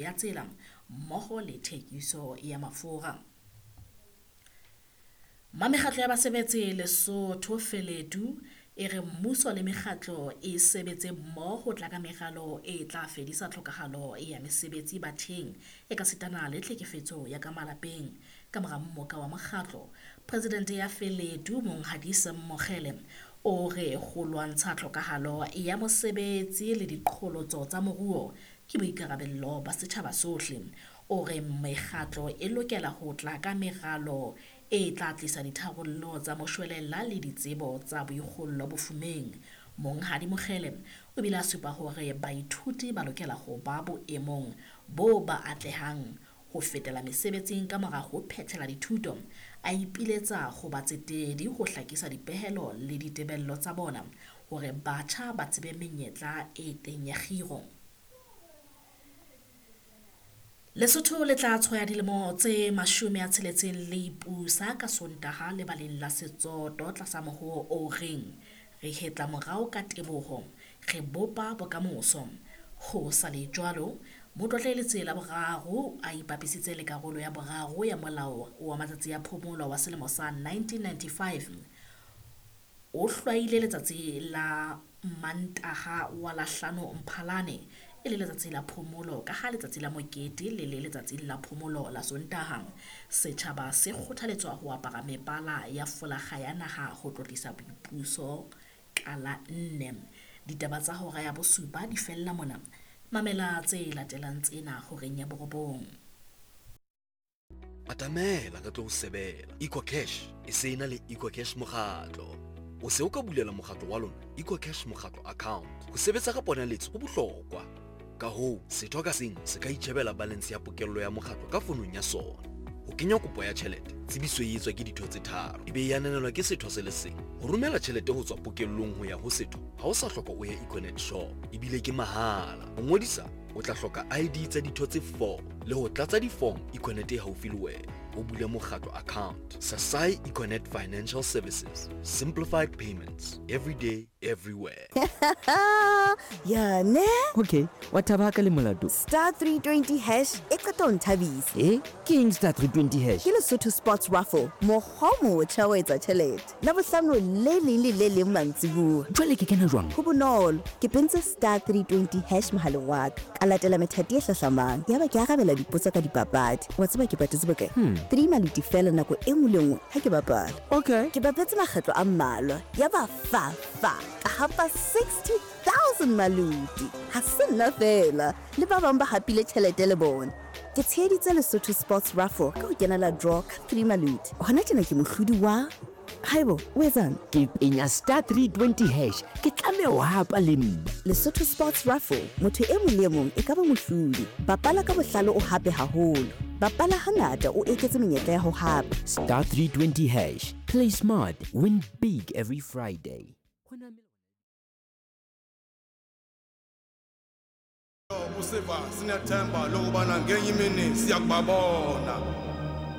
Ya tsela mmoho le thekiso ya mafura. Mamekgatlo ya basebetsi Lesotho Feledu e re mmuso le mekgatlo e sebetse mmoho ho tla ka meralo e tla fedisa tlhokahalo ya mesebetsi batheng e ka sitana le tlhekefetso ya ka malapeng. Ka mora mmoka wa mokgatlo, Presidente ya Feledu Monghadi Sam Mokgele o re ho lwantsha tlhokahalo ya mosebetsi le diqholotso tsa moruo ke boikarabello ba setjhaba sohle. O re mekgatlo e lokela ho tla ka meralo e tla tlisa ditharollo tsa moshwelella le ditsebo tsa boikgollo bofumeng. Monghadi Mokgele o bile a supa hore baithuti ba lokela ho ba boemong bo ba atlehang ho fetela mesebetsing ka mora ho phethela dithuto, a ipiletsa ho batsetedi ho hlakisa dipehelo le ditebello tsa bona hore batjha ba tsebe menyetla e teng ya kgiro. Lesotho le tla tshwaya dilemo tse 60 le ipusa ka Sontaha lebaleng la Setsoto tlasa mohoo o reng re hetla morao ka teboho, re bopa bokamoso. Ho sa le jwalo, Motlotleletse la boraro a ipapisitse le karolo ya boraro ya molao wa matsatsi a phomolo wa selemo sa 1995 o hlwaile letsatsi la Mantaha wa la 5 Mphalane e le letsatsi la phomolo ka ha letsatsi la mokete le le letsatsi la phomolo la Sontaha. Setjhaba se kgothaletswa ho apara mebala ya folakga ya naha ho tlotlisa boipuso ka la 4. Ditaba tsa hora ya bosupa di fella mona. Mamela tse latelang tsena horeng ya 9. Atamela re tlo o sebela. EcoCash e se ena le EcoCash mokgatlo. O se o ka bulela mokgatlo wa lona EcoCash mokgatlo account. Ho sebetsa ka ponaletso ho bohlokwa. Ka hoo, setho ka seng se ka itjhebela balance ya pokello ya mokgatlo ka fonong ya sona. Ho kenya kopo ya tjhelete, tsebiso e etswa ke ditho tse 3, e be e ananelwa ke setho se le seng. Ho romela tjhelete ho tswa pokellong ho ya ho setho, ha o sa hloka o ye Econet shop, ebile ke mahala. Ho ngodisa, o tla hloka ID tsa ditho tse 4 le ho tlatsa di-form Econet e haufi le wena. O bule mokgatlo account. Sasai Econet Financial Services. Simplified payments. Every day, everywhere. Ya ne? Okay, wa thaba ka le molato. Star 320 hash e qeta ho nthabisa. Eh, ke eng star 320 hash? Ke Lesotho Sports Raffle, mokgwa o motjha wa etsa tjhelete. La bohlano le leng le le leng mantsibuya. Jwale ke kena jwang? Ho bonolo, ke pentse star 320 hash mohaleng wa ka. Ka latela methati e hlahlamang. Yaba ke arabela dipotso ka dipapadi. Wa tseba ke patetse bokae? 3 maluti fela nako e nngwe le nngwe ha ke bapala. Okay. Ke bapetse makgetlo a mmalwa. Yaba fa fa ka hapa 60,000 maluti. Ha se nna fela, le ba bang ba hapile tjhelete le bona. Ke tsheheditse Lesotho Sports Raffle ka ho kenela draw ka 3 maluti. Hona tjena ke mohlodi wa Haibo, o etsang? Ke penya star 320 hash, ke tlameha ho hapa le nna. Lesotho Sports Raffle, motho e mong le e mong e ka ba mohlodi. Bapala ka bohlale o hape haholo. Bapala hangata o eketse menyetla ya ho hapa. Star 320 hash, play smart, win big every Friday. Usiva sinethemba lokubana ngenye imini siyakubabona.